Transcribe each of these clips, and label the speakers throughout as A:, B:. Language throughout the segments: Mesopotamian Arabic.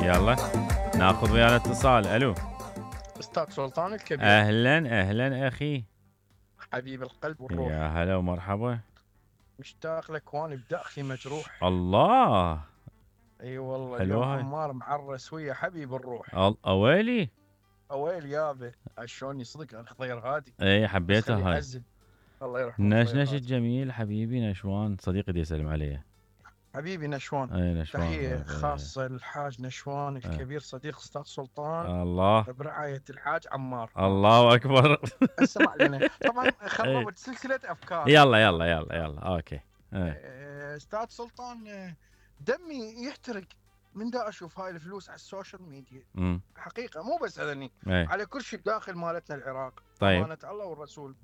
A: يلا ناخذ ويانا اتصال. الو
B: استاذ سلطان الكبير.
A: اهلا اخي
B: حبيب القلب والروح.
A: يا هلا ومرحبا.
B: مشتاق لك واني بداخلي مجروح.
A: الله
B: اي والله
A: حلوة
B: اليوم
A: هاي.
B: عمار معرس ويا حبيب الروح.
A: اويلي
B: اويل يابا شلون صدق الخضير هادي.
A: اي حبيتها هاي.
B: يعزل. الله يرحمه.
A: نشنش الجميل حبيبي نشوان صديقي دي يسلم علي.
B: حبيبي نشوان.
A: اي نشوان.
B: تحية خاصة للحاج نشوان الكبير صديق استاذ سلطان.
A: الله
B: برعاية الحاج عمار.
A: الله اكبر.
B: اسمع لنا طبعا خربت سلسلة افكار.
A: يلا اوكي.
B: استاذ سلطان دمي يحترق من دا اشوف هاي الفلوس على السوشيال ميديا. حقيقه مو بس هذني على كل شيء بداخل مالتنا العراق.
A: طيب
B: امانه الله والرسول.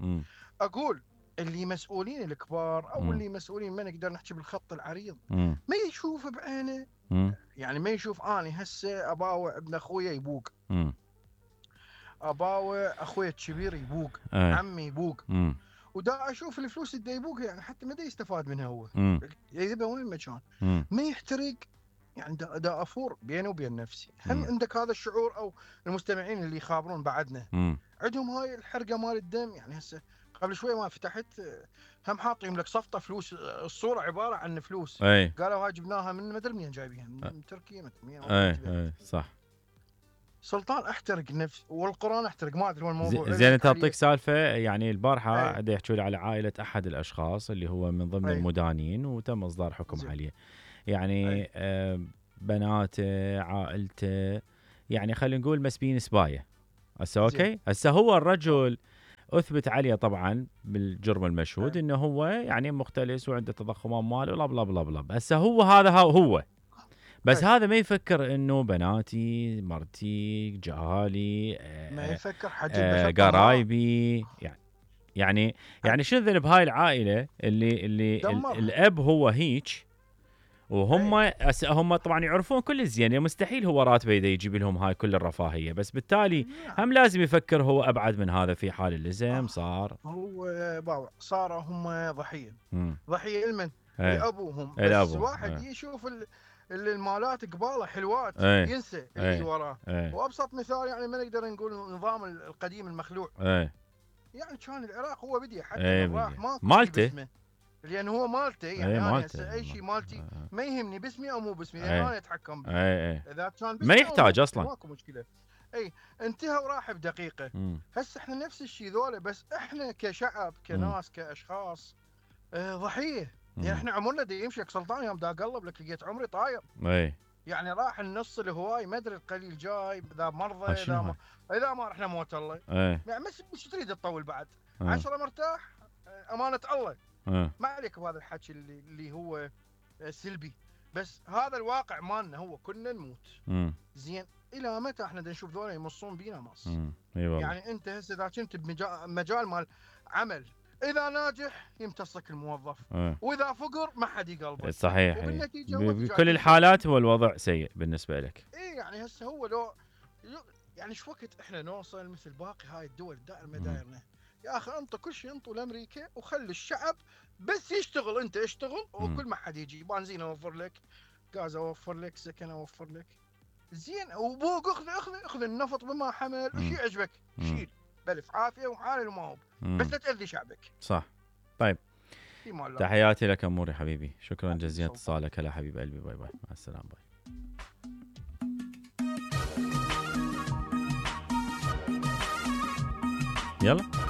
B: اقول اللي مسؤولين الكبار او اللي مسؤولين ما نقدر نحكي بالخط العريض ما يشوف بعينه. يعني ما يشوف اني هسه اباوع ابن اخويا يبوق. اباوع اخويا الكبير يبوق. عمي يبوق. ودا اشوف الفلوس اللي يبوق يعني حتى ما دا يستفاد منها هو. يذبها وين المكان. ما يحترق. يعني دا افور بيني وبين نفسي. هم عندك هذا الشعور او المستمعين اللي يخابرون بعدنا عندهم هاي الحرقه مال الدم. يعني هسه قبل شوي ما فتحت هم حاطين لك صفطه فلوس. الصوره عباره عن فلوس. قالوا هاي جبناها من ما ادري منين جايبينها من تركيا
A: اي صح.
B: سلطان احترق نفس والقران احترق ما ادري وين الموضوع.
A: زين انت اعطيك سالفه. يعني البارحه قاعد يحكوا لي على عائله احد الاشخاص اللي هو من ضمن المدانين وتم اصدار حكم عليه. يعني بناته عائلته يعني خلينا نقول مسبين سبايه. هسه اوكي. هسه هو الرجل اثبت عليه طبعا بالجرم المشهود انه هو يعني مختلس وعنده تضخم اموال ولا بلا بلا بلا. هسه هذا هو بس هذا ما يفكر انه بناتي مرتي جهالي
B: ما يفكر حجم
A: قرايبي يعني شنو ذنب هاي العائله اللي الاب هو هيك وهم طبعا يعرفون كل زين. مستحيل هو راتبه اذا يجيب لهم هاي كل الرفاهيه. بس بالتالي هم لازم يفكر هو ابعد من هذا في حال اللزم صار.
B: هو صار هم ضحيه. ضحيه لمن؟ لابوهم. بس واحد يشوف المالات قباله حلوات ينسى اللي وراه. وابسط مثال يعني ما نقدر نقول النظام القديم المخلوع. يعني كان العراق هو بدي حتى راح
A: مالته
B: لان هو مالته. يعني انا اي شيء مالتي ما يهمني باسمي او مو باسمي لان انا اتحكم به. اذا كان
A: ما يحتاج اصلا
B: ماكو مشكله. انتهى وراح بدقيقه. هسه احنا نفس الشيء ذولا بس احنا كشعب كناس كاشخاص ضحيه. يعني احنا عمرنا دا يمشي سلطان يوم دا اقلب لك لقيت عمري طاير. يعني راح النص الهواي ما ادري القليل جاي اذا مرضى اذا ما رحنا موت الله. يعني مش تريد تطول بعد 10 مرتاح امانه الله. ما عليك بهذا الحكي اللي هو سلبي. بس هذا الواقع مالنا هو كنا نموت. زين الى متى احنا نشوف ذولا يمصون بينا مص. يعني انت هسه اذا كنت بمجال مال عمل اذا ناجح يمتصك الموظف. واذا فقر ما حد يقلبه.
A: صحيح. بكل الحالات هو الوضع سيء بالنسبه لك.
B: يعني هسه هو لو يعني ايش وقت احنا نوصل مثل باقي هاي الدول دائما دايرنا. يا اخي انطوا كل شيء انطوا لامريكا وخلي الشعب بس يشتغل. انت اشتغل وكل ما حد يجي بنزين اوفر لك غاز اوفر لك سكن اوفر لك. زين وبوق اخذ النفط بما حمل وشي عجبك شيل بلف عافيه وحالل وما هو بس لا تاذي شعبك.
A: صح. طيب تحياتي لك اموري حبيبي. شكرا جزيلا اتصالك. هلا حبيب قلبي. باي باي مع السلامه. باي. يلا